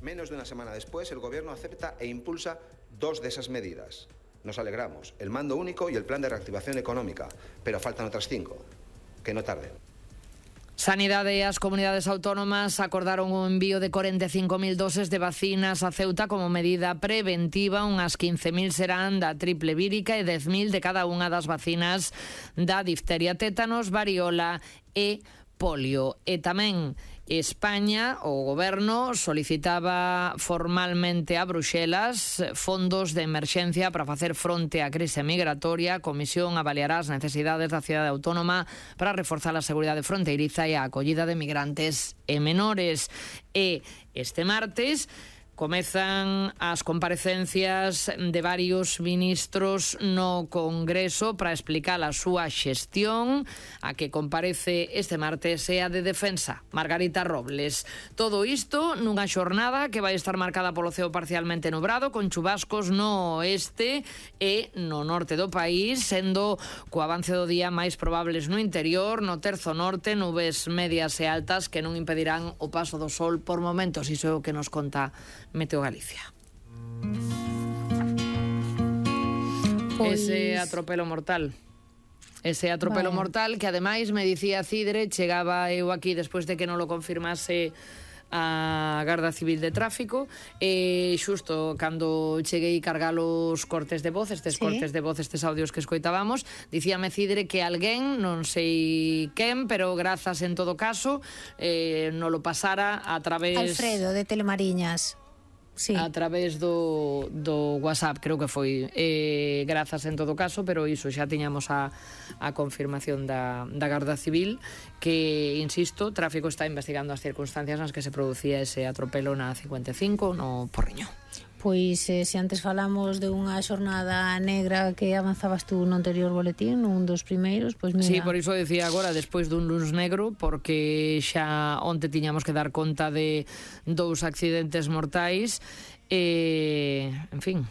Menos de una semana después, el Gobierno acepta e impulsa 2 de esas medidas. Nos alegramos, el mando único y el plan de reactivación económica, pero faltan otras 5, que no tarden. Sanidade e as comunidades autónomas acordaron o envío de 45.000 doses de vacinas a Ceuta como medida preventiva. Unhas 15.000 serán da triple vírica e 10.000 de cada unha das vacinas da difteria, tétanos, variola e polio. E tamén España, o goberno, solicitaba formalmente a Bruxelas fondos de emerxencia para facer fronte á crise migratoria. A Comisión avaliará as necesidades da cidade autónoma para reforzar a seguridade fronteiriza e a acollida de migrantes e menores. E este martes comezan as comparecencias de varios ministros no Congreso para explicar a súa xestión. A que comparece este martes é a de Defensa, Margarita Robles. Todo isto nunha xornada que vai estar marcada polo ceo parcialmente nubrado, con chubascos no oeste e no norte do país, sendo co avance do día máis probables no interior. No terzo norte, nubes medias e altas que non impedirán o paso do sol por momentos. Iso é o que nos conta Meteo Galicia. Ese atropelo mortal. Ese atropelo mortal que ademais me dicía Cidre, chegaba eu aquí despois de que non lo confirmase a Garda Civil de Tráfico, e xusto cando cheguei cargar os cortes de voz, estes cortes de voz, estes audios que escoitábamos, dicíame Cidre que alguén, non sei quen, pero grazas en todo caso, non lo pasara a través... Alfredo, de Telemariñas. Sí. A través do WhatsApp, creo que foi, grazas en todo caso, pero iso xa tiñamos a confirmación da Garda Civil, que, insisto, Tráfico está investigando as circunstancias nas que se producía ese atropelo na 55 no Porriño. Pois, se antes falamos de unha xornada negra que avanzabas tú no anterior boletín, un dos primeiros, pois mira... Sí, por iso decía agora, despois dun luns negro, porque xa onte tiñamos que dar conta de 2 accidentes mortais, en fin...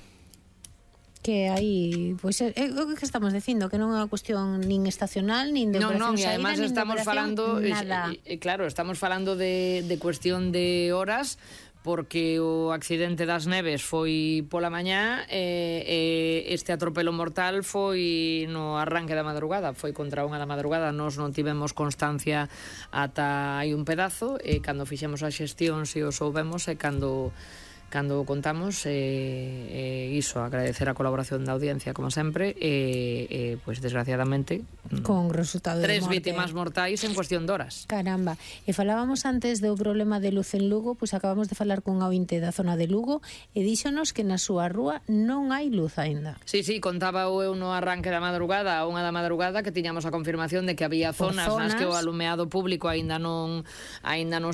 Que aí, pois é o que estamos dicindo, que non é unha cuestión nin estacional, nin de operación saída, además nin estamos de falando, nada. Claro, estamos falando de cuestión de horas, porque o accidente das Neves foi pola mañá e este atropelo mortal foi no arranque da madrugada, foi contra unha da madrugada. Nós non tivemos constancia ata hai un pedazo, e cando fixemos a xestión se o soubemos, e cando contamos, iso, agradecer a colaboración da audiencia como sempre, pois desgraciadamente con resultado de 3 morte. vítimas mortais en cuestión de horas. Caramba, e falábamos antes do problema de luz en Lugo, pois acabamos de falar cun ointe da zona de Lugo e díxonos que na súa rúa non hai luz aínda. Sí, contaba eu no arranque da madrugada, a unha da madrugada, que tiñamos a confirmación de que había zonas nas que o alumeado público aínda non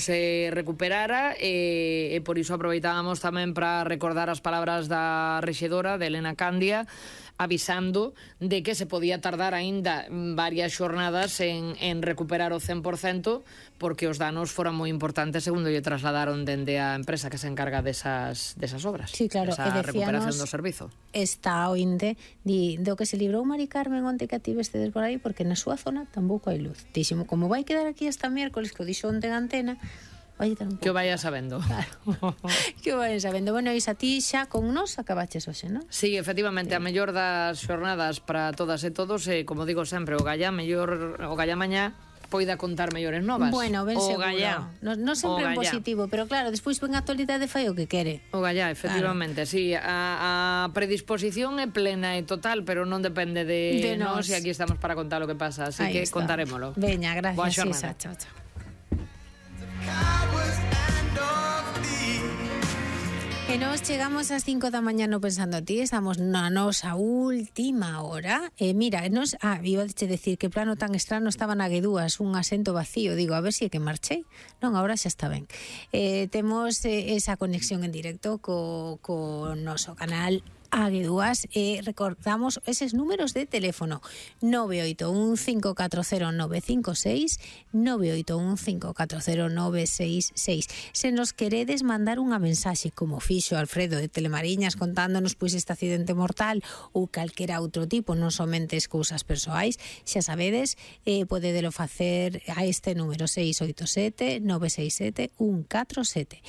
se recuperara, e por iso aproveitábamos tamén para recordar as palabras da rexedora, de Elena Candia, avisando de que se podía tardar aínda varias xornadas en recuperar o 100%, porque os danos foran moi importantes, segundo lle trasladaron dende a empresa que se encarga desas obras. Sí, claro, esa recuperación do servizo. Está ointe do que se librou Mari Carmen onte que ativestedes por aí, porque na súa zona tampouco hai luz. Díximo, como vai quedar aquí hasta miércoles, que o dixo onte en antena, que o vaya sabendo. Claro. Que o vaya sabendo. Bueno, Isa, ti xa con nos acabaches hoxe, non? Sí, efectivamente, a mellor das xornadas para todas e todos, como digo sempre, o Gallá mañá poida contar mellores novas. Bueno, ben seguro. Gallá. Non sempre en positivo, pero claro, despois ven a actualidade fai o que quere. O Gallá, efectivamente, claro. Sí, a predisposición é plena e total, pero non depende de nós, e aquí estamos para contar o que pasa, así aí que está. Contarémolo. Veña, gracias, Isa. Chao. E nós chegamos ás 5 da mañá no Pensando a Ti, estamos na nosa última hora. Mira, iba a decir que plano tan estrano estaba na Guedúas, un asento vacío, digo, a ver se é que marchei. Non, agora xa está ben. Temos esa conexión en directo co noso canal Aguedúas, recordamos eses números de teléfono 981540956, 981540966. Se nos queredes mandar unha mensaxe como fixo Alfredo de Telemariñas contándonos pois este accidente mortal ou calquera outro tipo, non somente as cousas persoais, xa sabedes, podedelo facer a este número 687 967 147.